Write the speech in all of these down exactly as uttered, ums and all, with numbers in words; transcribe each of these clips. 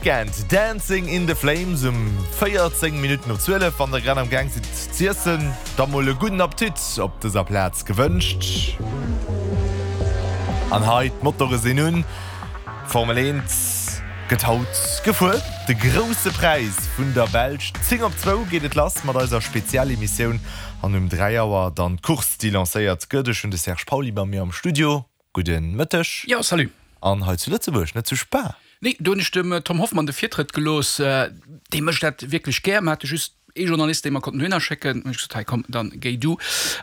Weeknd, Dancing in the Flames um véierzéng Minutten op zwielef. Wann der grad am Gaang sidd z'iessen, da mol e gudden Appetit op dëser Plaz gewënscht. An hei, d'Motore sinn un, d'Formel eent gëtt haut gefuer, de Grousse Präis vun der Belsch. Zéng op zwou geet et lass mat eiser Spezialemissioun an um dräi Auer dann d'Course, déi lancéiert gëtt. Ech hunn de Serge Pauly bei mir am Studio. Gudde Mëtteg. Jo, salut. An hei zu Lëtzebuerg, net zu Spa. Nee, do hunn ech dem Tom Hoffmann de Virtrëtt gelooss. Dee mécht dat wierklech gär. Mer hate just ee Journalist, dee mer konnten dohinner schécken. Hunn ech gesot, hei komm, dann géi du.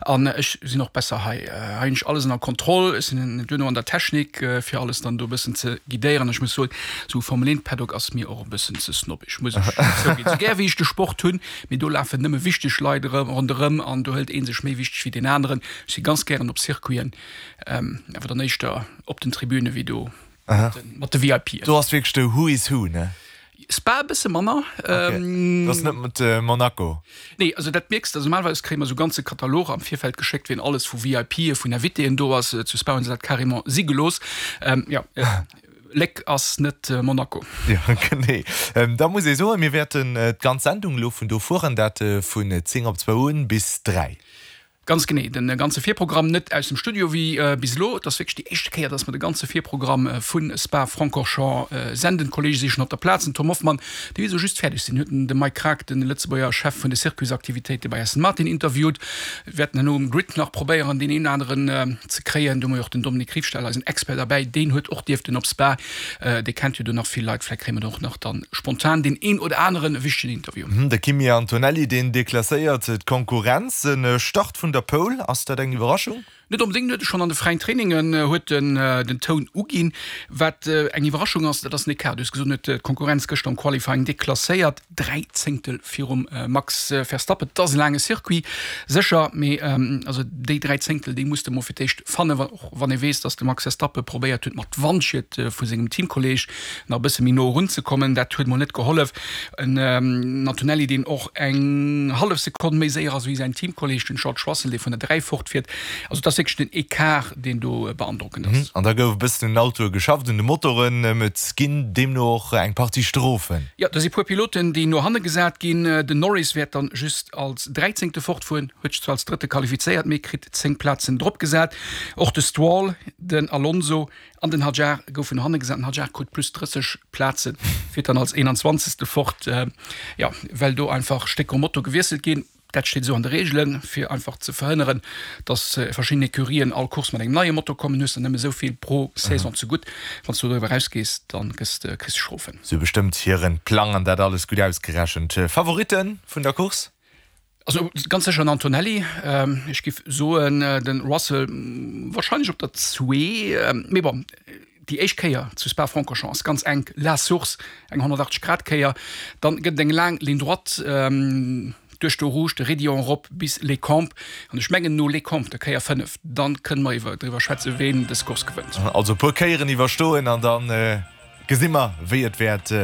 An ech sinn och besser hei. Hei hunn ech alles ënner Kontroll. Ech sinn duerno an der Technik, fir alles dann do e bëssen ze guidéieren. Ech muss soen, esou Formel eent Paddock ass mir och e bëssen ze snobbisch, muss ech zouginn. Esou gär wéi ech de Sport hunn, mee do lafen nëmme wichteg Leit ronderëm an do hëlt ee sech méi wichteg wéi deen aneren. Ech si ganz gären op Circuiten, awer dann éischter op den Tribüne wéi do mat de VIPen. Do ass wierklech de Who is Who, ne? Spa e bësse manner. Okay. Dat ass net mat Monaco? Nee, also dat mierks de. Also normalerweis kréie mer esou ganze Kataloger am Virfeld geschéckt, wien alles vu VIPe, vun Invitéen do ass. Zu Spa hunn se dat carrément si gelooss. Jo, Léck ass net Monaco. Jo, genee. Da muss ee soen, mir wäerten d'ganz Sendung elo vun do fueren, dat vun zéng op zwou un bis dräi. Ganz genee, de ganze Virprogramm, net aus dem Studio wéi bis elo. Et ass wierklech déi éischte Kéier, dass mer de ganze Virprogramm vu Spa-Francorchamps senden. D'Kolleege si schonn op der Plaz. Den Tom Hoffmann, dee wéi esou just fäerdeg sinn, huet de Mike Krack, de Lëtzebuerger Chef vun de Circuitsaktivitéite bei Aston Martin, interviewt. Mir wäerten herno um Grid nach probéieren, deen een oder aneren ze kréien. Do hu mer jo och den Dominique Riefstahl, eisen Expert, derbäi. Deen huet och dierften op Spa. Dee kennt jo do nach vill Leit. Vläicht kréie mer do och nach dann spontan deen een oder anere wichtegen Interview. De Kimi Antonelli, deen deklasséiert d'Konkurrenz. En Start vun der Pole, ass dat eng Iwwerraschung? Net onbedéngt, huet e schonn an de fräien Trainingen huet en den Toun uginn. Wat eng Iwwerraschung ass, dat ass den Ecart. Du hues gesot, en huet d'Konkurrenz gëschter am Qualifying deklasséiert, dräi Zéngtel virum Max Verstappen. Et ass e laange Circuit, sécher, mee also déi dräi Zéngtel, déi muss de mol fir d'éischt fannen, och wann ee weess, datt de Max Verstappen probéiert huet, mat Wandschied vu sengem Teamkolleeg nach e bësse méi no erunzekommen. Dat huet mol net gehollef. En Antonelli, deen och eng hallef Sekonn méi séier ass wéi säin Teamkolleeg, den George Russell, dee vun der dräi fortfiert. Also et ass wierklech den Ecart, deen do beandrockend ass. An da gouf e bëssen un den Autoe geschafft, un de Motoren. Et ginn deemno och eng Partie Strofen. Jo, do si puer Piloten, déi no hanne gesat ginn. Den Norris wäert dann just als Dräizéngte fortfueren, huet sech zwar als Drëtte qualifizéiert, mee kritt zéng Plazen dropgesat. Och de Stroll, den Alonso an den Hadjar goufen no hanne gesat. Den Hadjar krut plus drësseg Plazen, fiert dann als Eenanzwanzegste fort, jo, well do einfach Stécker um Motor gewiesselt ginn. Dat steet esou an de Reegelen, fir einfach ze verhënneren, datt verschidden Ecurien all Course mat engem neie Motor kommen. Hues der nëmme esou vill pro Saison zegutt. Wann s du doriwwer erausgees, da gëss de, kriss de Strofen. Se hu bestëmmt hiren Plang an dat alles gutt ausgerechent. Favoritten vun der Course? Also ganz sécher den Antonelli. Ech giff soen den Russell wahrscheinlech op der zwee. Mee bon, déi éischt Kéier zu Spa-Francorchamps ass ganz enk, La Source, eng honnertachtzeg Grad Kéier. Dann gëtt et eng laang Ligne droite duerch d'Eau Rouge, de Raidillon erop bis Les Combes. An ech mengen no Les Combes, der Kéier fënnef, dann kënne mer iwwer driwwer schwätzen, ween dës Course gewënnt. Also e puer Kéieren iwwerstoen an dann Gesi mer wéi et wäert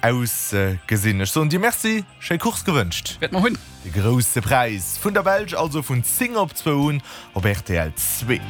ausgesinn. Ech soen dir Merci, schéi Course gewënscht. Wäert mer hunn. De Grousse Präis vun der Belsch also vun zéng op zwou un op rtl zwee.